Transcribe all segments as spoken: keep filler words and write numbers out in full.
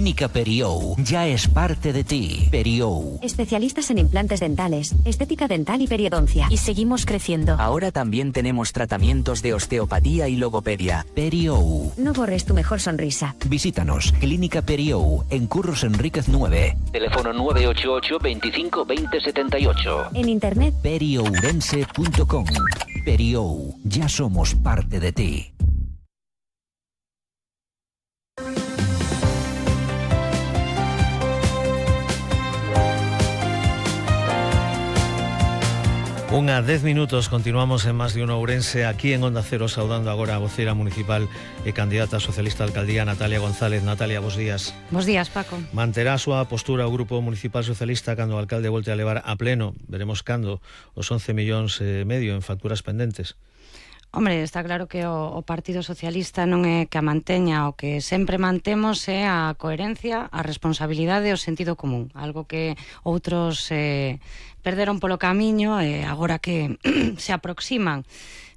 Clínica Periou ya es parte de ti. Periou. Especialistas en implantes dentales, estética dental y periodoncia. Y seguimos creciendo. Ahora también tenemos tratamientos de osteopatía y logopedia. Periou. No borres tu mejor sonrisa. Visítanos, Clínica Periou, en Curros Enríquez nueve. Teléfono nueve ocho ocho, veinticinco, veinte, setenta y ocho. En internet, periourense punto com. Periou, ya somos parte de ti. Unha dez minutos, continuamos en Más de Uno Ourense, aquí en Onda Cero, saudando agora a voceira municipal e candidata socialista a alcaldía, Natalia González. Natalia, bos días. Bos días, Paco. Manterá a súa postura o Grupo Municipal Socialista cando o alcalde volte a levar a pleno, veremos cando, os once millóns e medio en facturas pendentes? Hombre, está claro que o, o Partido Socialista non é que a manteña, o que sempre mantemos é a coherencia, a responsabilidade e o sentido común, algo que outros eh, perderon polo camiño e agora que se aproximan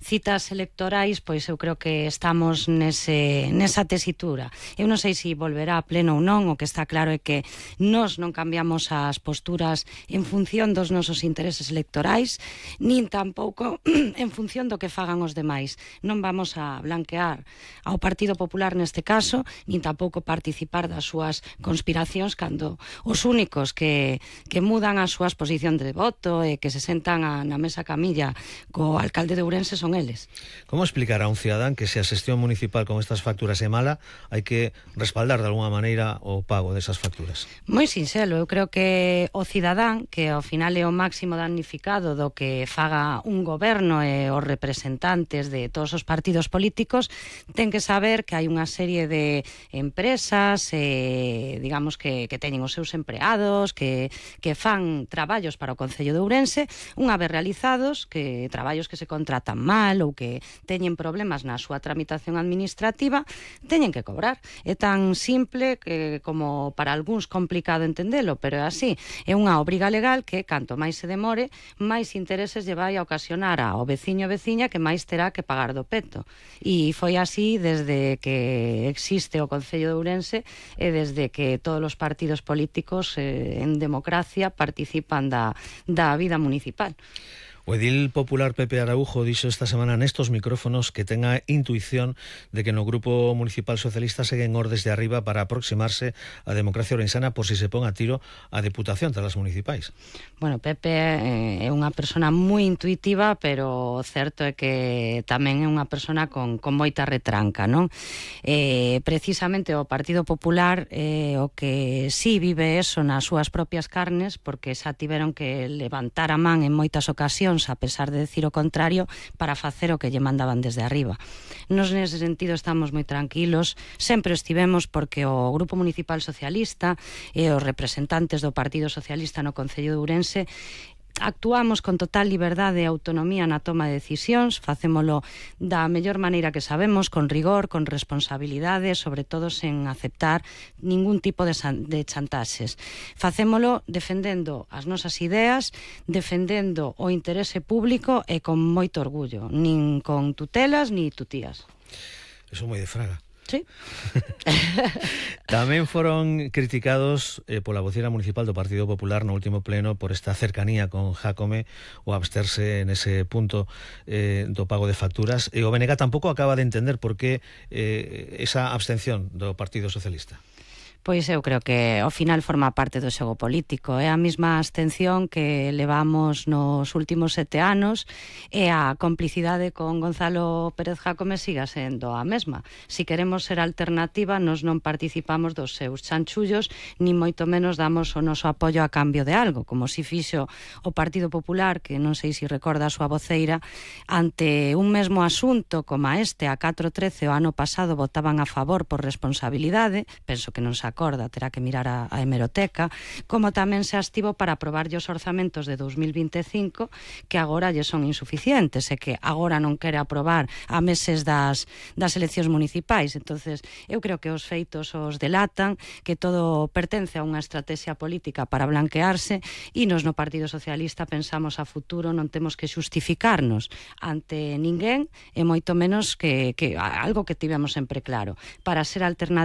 citas electorais, pois eu creo que estamos nese, nesa tesitura. Eu non sei se volverá a pleno ou non, o que está claro é que nós non cambiamos as posturas en función dos nosos intereses electorais, nin tampouco en función do que fagan os demais. Non vamos a blanquear ao Partido Popular neste caso, nin tampouco participar das súas conspiracións cando os únicos que, que mudan as súas posicións de voto e que se sentan a, na mesa camilla co alcalde de Ourense son eles. Como explicar a un cidadán que se a xestión municipal con estas facturas é mala, hai que respaldar de alguna maneira o pago desas facturas? Moi sinxelo, eu creo que o cidadán, que ao final é o máximo damnificado do que faga un goberno e os representantes de todos os partidos políticos, ten que saber que hai unha serie de empresas, eh, digamos que, que teñen os seus empleados, que, que fan traballos para o Concello de Ourense, unha vez realizados, que traballos que se contratan mal ou que teñen problemas na súa tramitación administrativa, teñen que cobrar. É tan simple que como para algúns complicado entendelo, pero é así. É unha obriga legal que canto máis se demore, máis intereses lle vai a ocasionar ao veciño e veciña que máis terá que pagar do peto. E foi así desde que existe o Concello de Ourense e desde que todos os partidos políticos eh, en democracia participan da, da vida municipal. O edil popular Pepe Araujo dixo esta semana nestos micrófonos que ten a intuición de que no Grupo Municipal Socialista seguen ordes de arriba para aproximarse á democracia ourensana por si se pon a tiro a Deputación tras as municipais. Bueno, Pepe é unha persona moi intuitiva, pero o certo é que tamén é unha persona con, con moita retranca, non? Eh, precisamente o Partido Popular eh, o que sí vive eso nas súas propias carnes, porque xa tiveron que levantar a man en moitas ocasións a pesar de decir o contrario, para facer o que lle mandaban desde arriba. Nos nese sentido estamos moi tranquilos, sempre estivemos porque o Grupo Municipal Socialista e os representantes do Partido Socialista no Concello de Ourense actuamos con total liberdade e autonomía na toma de decisións, facémolo da mellor maneira que sabemos, con rigor, con responsabilidade, sobre todo sen aceptar ningún tipo de, de chantaxes. Facémolo defendendo as nosas ideas, defendendo o interese público e con moito orgullo, nin con tutelas ni tutías. Eso moi de Fraga. Sí. Tamén foron criticados eh, pola vocera municipal do Partido Popular no último pleno por esta cercanía con Jácome o absterse nese punto eh, do pago de facturas, e o B N G tampouco acaba de entender por que eh, esa abstención do Partido Socialista. Pois eu creo que ao final forma parte do xogo político. É a mesma abstención que levamos nos últimos sete anos e a complicidade con Gonzalo Pérez Jácome siga sendo a mesma. Si queremos ser alternativa, nos non participamos dos seus chanchullos, ni moito menos damos o noso apoio a cambio de algo, como si fixo o Partido Popular, que non sei se recorda a súa voceira, ante un mesmo asunto como a este, a catro trece o ano pasado votaban a favor por responsabilidade, penso que non se acorda, terá que mirar a, a hemeroteca, como tamén se astivo para aprobarlle os orzamentos de dous mil vinte e cinco, que agora lle son insuficientes e que agora non quere aprobar a meses das, das eleccións municipais. Entonces, eu creo que os feitos os delatan, que todo pertence a unha estrategia política para blanquearse, e nos no Partido Socialista pensamos a futuro, non temos que xustificarnos ante ninguén, e moito menos que, que algo que tivemos sempre claro. Para ser alternativa